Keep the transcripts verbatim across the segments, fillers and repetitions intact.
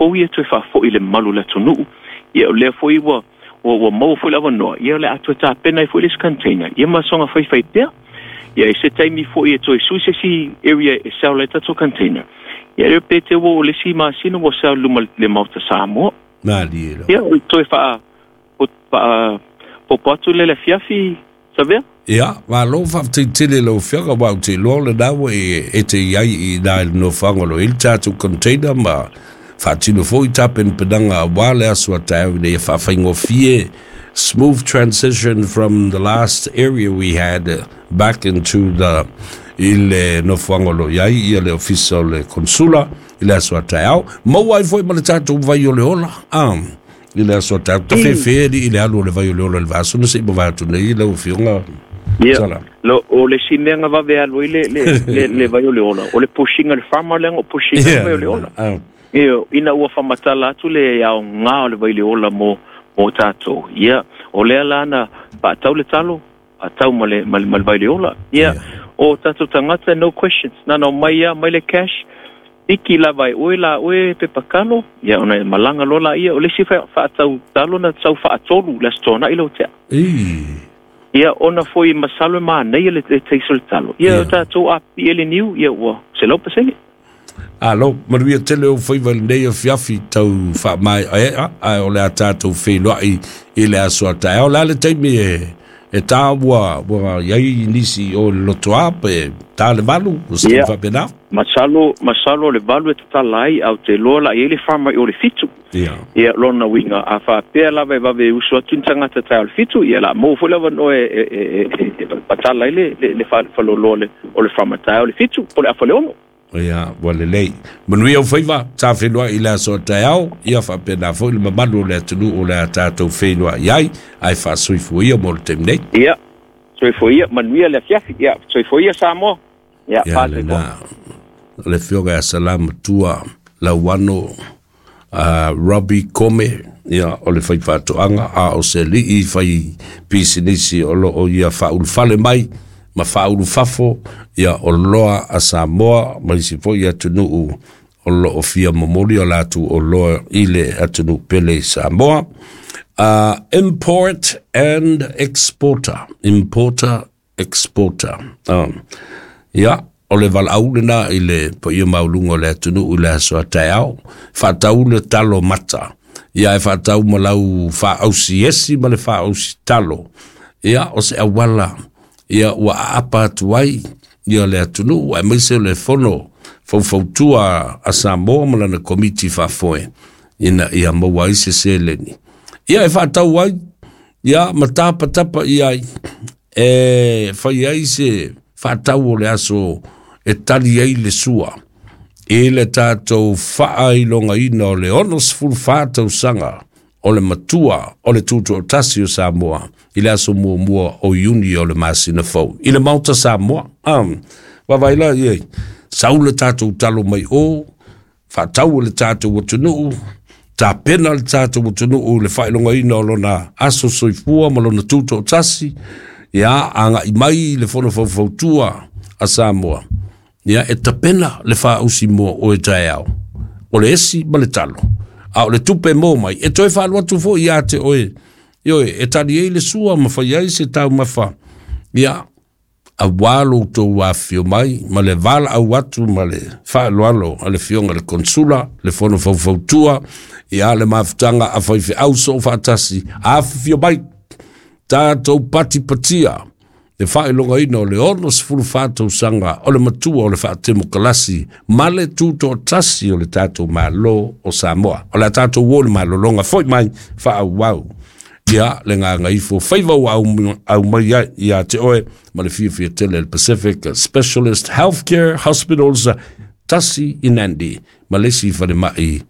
fou ia toe faafo'i le mamalu o le atunu'u. Ia o lea foi ua ua ua maua foi le avanoa, ia o le a toe tapena ai foi le isi container, ia ma soga faifai pea. Ia i se taimi foi e toe sui se isi area e sell ai tatou container. Ia leo pe te ua o le isi masina ua sell luma le Maota Samoa. Malie lau. Ia o le toe faa faa popo atu lea i le afiafi Savea. Ia, malo faafetai tele i lau Afioga, aua ou te iloa o lena ua e, e te i ai i ina i le nofoaga o lo o i ai le tatou container ma faatino foi tapenapenaga aua le aso a taeao ina ia faafaigofie smooth transition from the last area we had back into the i le nofoaga o lo o i ai ia le ofisa o le Konsula i le aso a taeao. Maua ai foi ma le tatou vai o le ola, ah, i le aso a taeao. Tafefe alii i le alu o le vai o le ola i le vaaso na se i mavae atu nei lau Afioga. Ia, Sala. lo, o le isi mea na vave alu ai le, le, le, le vai o le ola, o le pushinga le farmer leaga o pushinga le Ia, vai o le ola. ah. Ia, ina ua faamatala atu le aoga o le vai o le ola mo, mo tatou. Ia, o lea la na faatau le talo, faatau ma le, ma le, ma le vai o le ola. Ia, o tatou tagata, no questions. Na ona omai lava, mai le cash, piki lava e oe la oe pepa kalo, ia ona e malaga loa laia. O le isi faatau talo na sau faatolu i le Aso Toonai lau tea. Ii. Ia, ona foi masalo e manaia le, le taste o le talo. Ia, o tatou a pipii le niu, ia ua selau pasene. Alo, manuia tele ou faiva i lenei afiafi tau faamaeaea, ae o le a tatou feiloai i le aso a taeao. O le a le taimi e, e tā ua, ua i ai nisi o le lotoa pe tā le valu, o se taimi Ia, faapena? masalo, masalo o le valu e tatala ai, ae ou te iloa la i ai le farmer i o le fitu. Ia. Ia, lona uiga, a faapea lava e vave usu atu ni tagata taeao i le fitu, ia o le a maua foi le avanoa e, e, e, e, e patala ai le, le, le faleoloa o le, o le farmer taeao i le fitu, po o le afa le ono. Ia, ua lelei. Manuia ou faiva, sa feiloai i le aso a taeao, ia faapena foi le mamalu o le atunuu o le a tatou feiloai ai, ae faasoifua ia mo le taimi nei. Ia, soifua ia, manuia le afiafi. Ia, soifua ia Samoa. Ia, Ia, pa soifua. lena, le Afioga ia Salamatua Lauano uh, Robbie Kome, ia, o le faifaatoaga, a o se alii fai pisinisi o lo o ia faaulufale mai ma faaulufafo, ia, o loa a Samoa ma isi foi atunuu o lo o fia momoli o latou oloa i le atunuu pele i Samoa. Uh, import and exporter. Importer, exporter. Um, ia, o le valaau lena i le paia maualuga o le atunuu i le aso a taeao. Faatau le talo mata. Ia e faatau ma lau faaausi esi ma le faaausi talo. Ia, o se auala, ia ua aapa atu ai ia le atunuu, aemaise o le fono faufautua a Samoa ma lana komiti faafoe, ina ia maua ai se seleni. Ia e faatau ai, ia ma tapatapa i ai, e fai ai se faatau o le aso e tali ai le sua i le tatou faailogaina o le ono sefulu fa tausaga o le matua o le Tutoatasi o Samoa i le aso muamua o Iuni o le masina fou i le Maota Samoa. Um, vaavaai la i ai, sau le tatou talo mai o, faatau e le tatou atunuu, tapena le tatou atunuu i le faailogaina o lona aso soifua ma lona tutoatasi, ia agai mai i le fono faufautua a Samoa, ia e tapena le faausi mo oe taeao, o le esi ma le talo, a o le tupe mo mai, e toe faalu atu foi ia te oe, ioe, e tali ai le sua ma fai ai se taumafa, ia, aua lo outou afifio mai ma le valaau atu ma le faaaloalo a le Afioga i le Konsula, le Fono Faufautua, ia le mafutaga a faifeau soofaatasi, afifio mai, tatou patipatia le faailogaina o le ono sefulu fa tausaga o le matua o le faatemokalasi ma le tutoatasi o le tatou Malo o Samoa. O le a tatou o le malologa foi mai faaauau ia le gagaifo faiva ua aumai ai ia te oe ma le fiafia tele le Pacific Specialist Healthcare Hospitals tasi i Nandi ma le isi falemai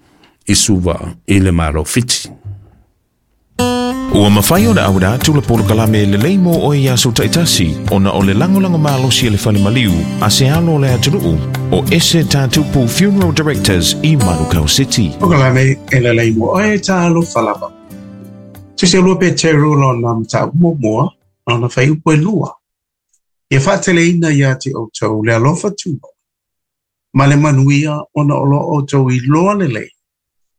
i Suva i le Malo Fiti. Ua mafai ona auina atu le polokalame lelei mo oe i aso taitasi ona o le lagolago malosi a le Fale Maliu a se alo o le atunuu o Ese Tatupu Funeral Directors i Manukau City. Polokalame e lelei mo oe talofa lava. Tusi o lua Peteru lona mataupu muamua, lona fuaiupu e lua. Ia faateleina ia te outou le alofa tumau, ma le manuia ona o lo o outou iloa lelei,